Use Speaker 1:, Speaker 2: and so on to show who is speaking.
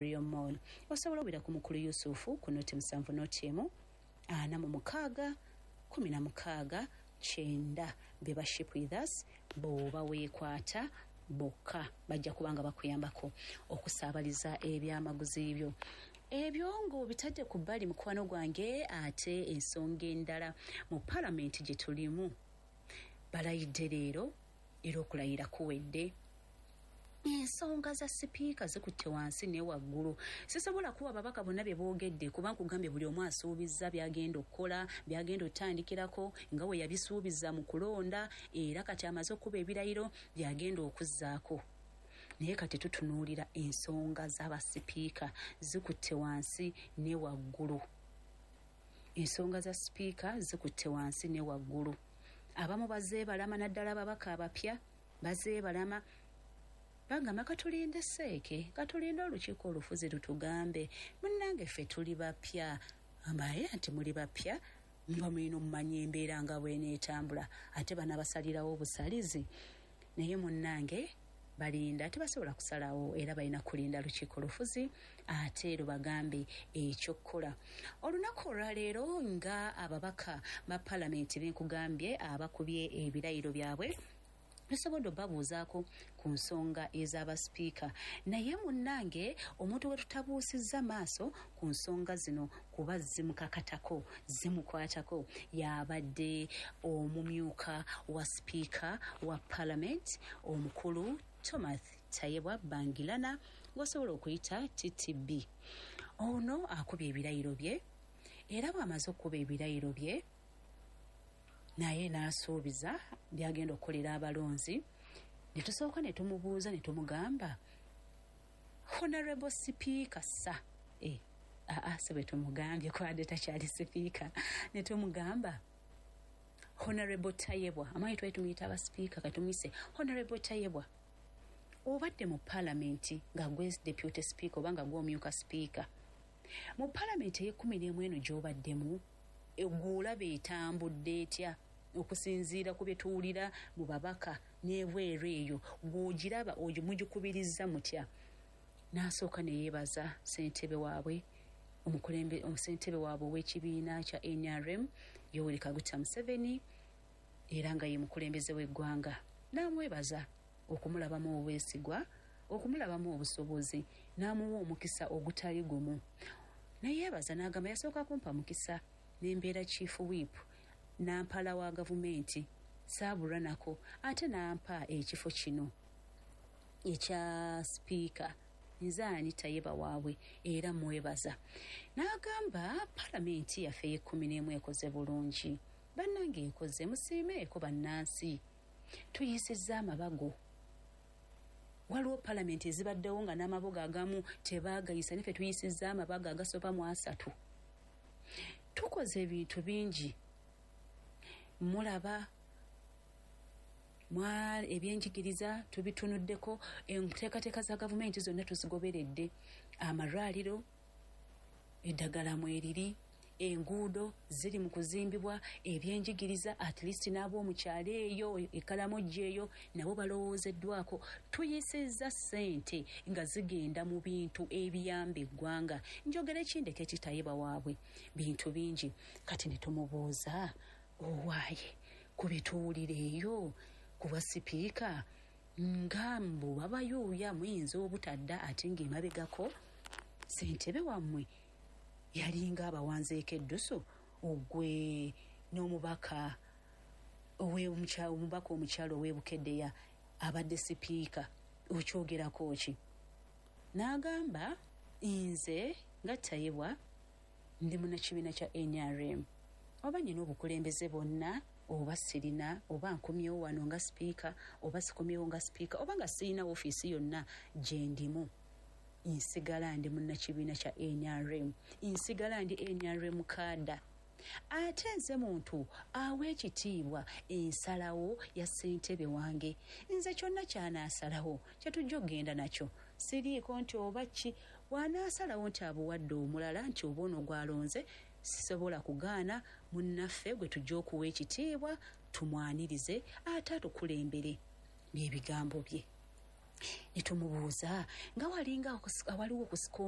Speaker 1: Rio Mall. Osobola obira ku mukulu Yusufu ku 071 46 16 90. Beba Ship With Us bw'oba weekwata bokka bajja kubanga bakuyambako okusaabaliza ebyamaguzi byo. Ebyo ng'obitadde ku bbali, mukwano gwange, ate ensonga endala mu palamenti gye tulimu, balayidde leero era okulayira kuwedde. Ensonga za sipiika zikutte wansi ne waggulu. Sisobola kuwa babaka bonna bye boogedde, kuba nkugambye buli omu asuubizza byagenda okukola, byagenda otandikirako nga we yabisuubiza mu kulonda, era kati amaze okuba ebirayiro byagenda okuzzaako. Naye kati tutunuulira ensonga z'abasipiika, zikutte wansi ne waggulu. Ensonga za sipiika zikutte wansi ne waggulu. Abamu bazeebalama, naddala ababaka abapya bazeebalama, bagamba katulinde seeke, katulinde olukiiko olufuzi lutugambe. Munnange, ffe tuli bapya. Ambaye nti muli bapya, muba mulina omumanya embeera nga bweneetambula, ate banabasalirawo obusalizi. Naye munnange balinda, tebasobola kusalawo, era balina kulinda lukiiko lufuzi ate lubagambe ekyokukola. Olunaku olwaleero nga ababaka ba palamenti benkugambye abakubye ebirayiro byabwe, tusobodde obabuuzaako ku nsonga ez'abasipiika. Naye munnange, omuntu we tutabuusizza maaso ku nsonga zino kuba zimukakatako, zimukwatako, yabadde omumyuka wa sipiika wa palamenti, omukulu Thomas Tayebwa Bangirana, ng'osobola okuyita TTB. Ono akubye ebirayiro bye, era bw'amaze okukuba ebirayiro bye naye n'asuubiza byagenda okukolera abalonzi. Ne tusooka ne tumubuuza ne tumugamba, "Honorable Sipiika," sa aa si bwe tumugambye, kwadde takyali sipiika, ne tumugamba, "Honorable Tayebwa," amanyi twali tumuyita abasipiika, katumuyise Honorable Tayebwa, "obadde mu paalamenti nga gwe deputy speaker oba nga gw'omyuka sipiika mu paalamenti ey'e11 eno gy'obaddemu, gw'olaba etambudde etya okusinziira ku bye tuwulira mu babaka n'ebweru eyo? Gw'ogiraba oyo mugikubiriza mutya?" N'asooka ne yeebaza ssentebe waabwe, omukulembe, ssentebe waabwe ow'ekibiina kya NRM, Yoweri Kaguta Museveni, era nga ye mukulembeze w'eggwanga, n'amwebaza okumulabamu obwesigwa, okumulabamu obusobozi, n'amuwa omukisa ogutali gumu. Nayeebaza n'agamba, "Yasooka kumpa mukisa n'embeera chief whip, nampala wa gavumenti, saabulwa nako, ate n'ampa ekifo kino ekya sipiika. Nze ani Tayeba waabwe, era mwebaza." N'agamba, "Palamenti yaffe ey'e11 ekoze bulungi. Bannange, ekoze, musiimeeko bannansi. Tuyisizza amabago. Waliwo palamenti ezibaddewo nga n'amabago agamu tebaagayisa, naffe tuyisizza amabago agasoba mu 30. Tukoze ebintu bingi. Mulaba ebyenjigiriza tubitunuddeko, enteekateeka za gavumenti zonna tuzigoberedde, amalwaliro eddagala mweriri, enguudo ziri mu kuzimbibwa, ebyenjigiriza at least n'ab'omukyalo eyo ekalamojja eyo nabo balowoozeddwako. Tuyisizza ssente nga zigenda mu bintu ebiyamba eggwanga." Njogera ekindeko ekitayeba waabwe, bintu bingi. Kati ne tumubuuza, "Owaaye, ku bituwulira eyo kuba sipiika nga mbu babayuuya, muyinza obutadda, ate ng'emabegako ssentebe wammwe yalinga abawanzeeko eddusu, ogwe n'omubaka omubaka omukyalo ow'ebukeddeya abadde sipiika, okyogerako ki?" N'agamba, "Nze nga Tayebwa ndi munnakibiina kya NRM. Oba nina obukulembeze bwonna oba sirina, oba nkomyewo wano nga sipiika oba sikomyewo nga sipiika, oba nga sirina ofiisi yonna gye ndimu, nsigala ndi munnakibiina kya NRM, nsigala ndi NRM cadre. Ate nze muntu awa ekitiibwa ensalawo ya ssentebe wange. Nze kyonna kyanaasalawo kyetujja okugenda nakyo. Siriiko nti oba ki, bw'anaasalawo nti abuwadde omulala, nti oba ono gwalonze, sisobola kugaana. Munnaffe gwe tujja okuwa ekitiibwa, tumwanirize ate atukulembere." Byebigambo bye. Ne tumubuuza nga walinga awaliwo okusika.